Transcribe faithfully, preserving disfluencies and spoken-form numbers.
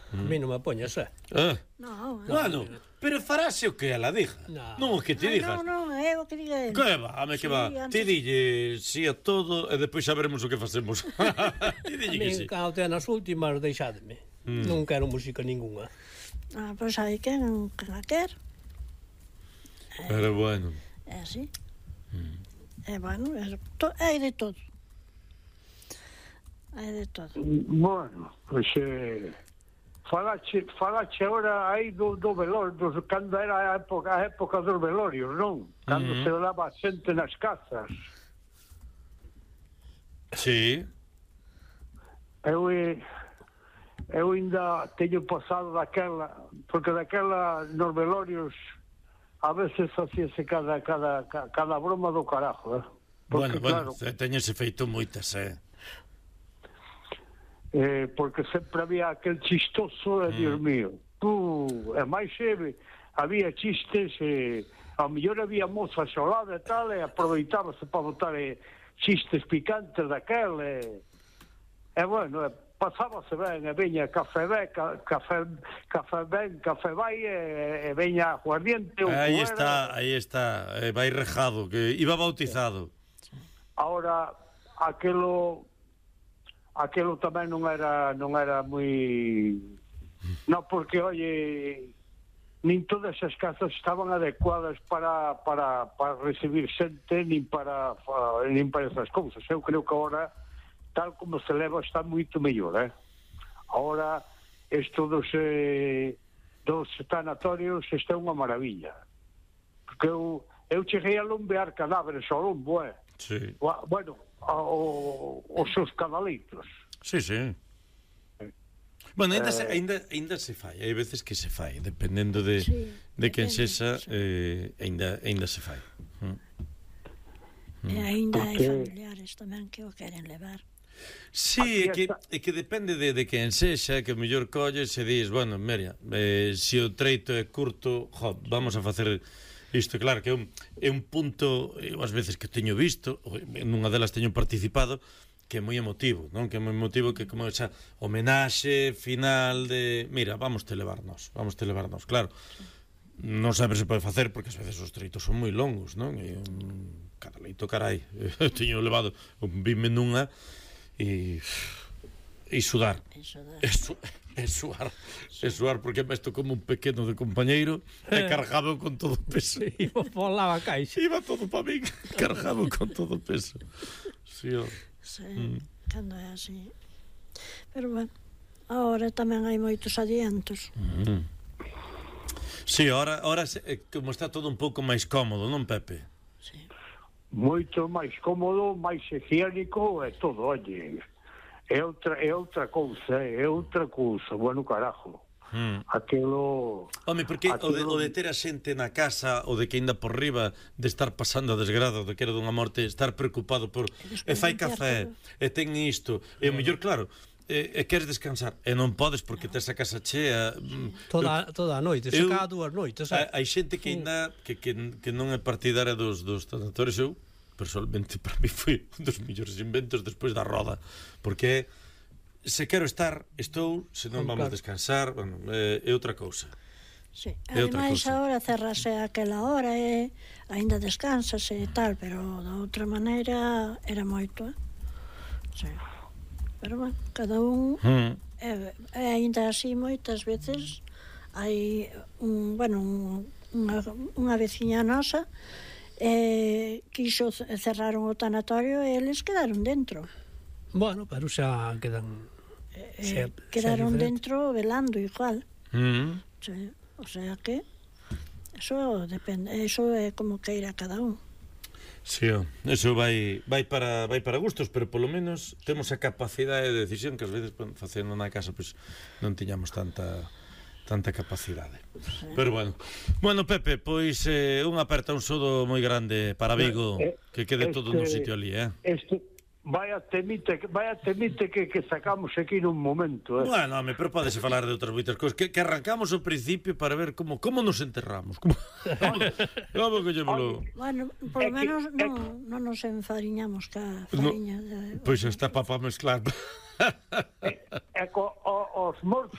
A mí non me poñas, eh? Ah. No, Bueno, pero farase o que ela diga. Non o que te digas. Non, non, é o que diga ele. Que va, ame que va. Ti dille si a todo e depois xa veremos o que facemos. Ti dille que si. A mí, cando te nas últimas, deixádeme. Non quero música ninguna. Ah, pois hai quen a quer. Pero bueno. É así. É bueno, hai de todo. Hai de todo. Bueno, pois eh, falache, falache agora aí do, do velorio, do, cando era a época, a época dos velorios, non? Cando uh-huh. se olaba xente nas casas. Sí. Eu eu ainda teño pasado daquela, porque daquela nos velorios a veces facíase cada cada cada broma do carajo, eh? Porque, bueno, bueno, claro, teñese feito moitas, eh. Eh, porque sempre había aquel chistoso, mm. Dios mío, tú, e máis eh, había chistes, eh, a mellor había mozas ao lado e tal, e aproveitábase para botar eh, chistes picantes daquel, e, e bueno, e pasábase ben, e veña café ben, ca, café, café ben, café vai, e, e veña aguardiente. Aí está, aí está, eh, vai rejado, que iba bautizado. Ahora, aquelo... aquilo tamén non era non era moi non, porque oye, nin todas as casas estaban adecuadas para para para recibir xente, nin para nin para esas cousas. Eu creo que agora tal como se leva está moito mellor, eh? Agora isto dos eh, dos tanatorios está unha maravilla, porque eu eu cheguei a lombear cadáveres ao lombo, eh? Sí. Bueno, o, os seus canalitos. Sí, sí. Bueno, ainda, eh, se, ainda, ainda se fai, hai veces que se fai, dependendo de, sí, de quen sexa, sí. eh, ainda, ainda se fai. Mm. E ainda hai familiares tamén que o queren levar. Sí, é que, é que depende de, de quen sexa, que o mellor colles e dis, bueno, mira, eh, se o treito é curto, jo, vamos a facer... Isto, claro, que é un, é un punto, eu ás veces que teño visto, nunha delas teño participado, que é moi emotivo, non? Que é moi emotivo, que como esa homenaxe final de, mira, vamos te levarnos, vamos te levarnos, claro. Non sempre se pode facer, porque ás veces os treitos son moi longos, non? E un caraleito, carai, eu teño levado un vime nunha e... e sudar. E sudar. E, su, e suar. Sí. E suar, porque me estou como un pequeno de compañeiro e cargado con todo o peso. Iba por lá a caixa. Iba todo para mí, cargado con todo o peso. Sí, oh. Sí, mm. Cando é así. Pero bueno, agora tamén hai moitos adiantos. Mm. Sí, ahora, ahora como está todo un pouco máis cómodo, non, Pepe? Sí. Moito máis cómodo, máis higiénico e todo, oye... É outra, é outra cousa, é outra cousa, bueno, carajo. Hmm. Aquilo... Home, porque aquilo... o, de, o de ter a xente na casa, o de que ainda por riba de estar pasando a desgrado, de que era dunha morte, estar preocupado por... E fai café, e ten isto, e o mellor, claro, e, e queres descansar, e non podes porque tes a casa chea... Toda, toda a noite, se cada dúas noites. Hai xente que ainda, que, que, que non é partidaria dos, dos tanatorios, eu... personalmente para mí foi un dos mellores inventos despois da roda, porque se quero estar, estou, se non vamos claro. descansar, bueno, é, é outra cousa. Sí. Ademais, agora cerrase aquela hora e ainda descansase e tal, pero da outra maneira era moito, eh? Sí. Pero bueno, cada un mm. e, e ainda así moitas veces hai un, bueno, un, unha, unha veciña nosa eh, quixo cerraron o tanatorio e eles quedaron dentro. Bueno, pero xa quedan eh, xa, quedaron xa dentro velando igual. Mm. Sí, o sea que eso depende, eso é como queira cada un. Sí, eso vai vai para vai para gustos, pero polo menos temos a capacidade de decisión que ás veces facendo na casa pois pues, non tiñamos tanta tanta capacidade. Sí. Pero bueno. Bueno, Pepe, pois eh, unha aperta un sodo moi grande para Vigo, eh, que quede este, todo no sitio ali, eh. Este vaya temite, vaya temite que, que sacamos aquí nun momento, eh. Bueno, home, pero podese falar de outras moitas cousas, que, que arrancamos ao principio para ver como como nos enterramos, como como que llemelo. Bueno, por lo menos que, non non nos enfariñamos ca fariña. No, pois pues está para mezclar. E, e co, o, os mortos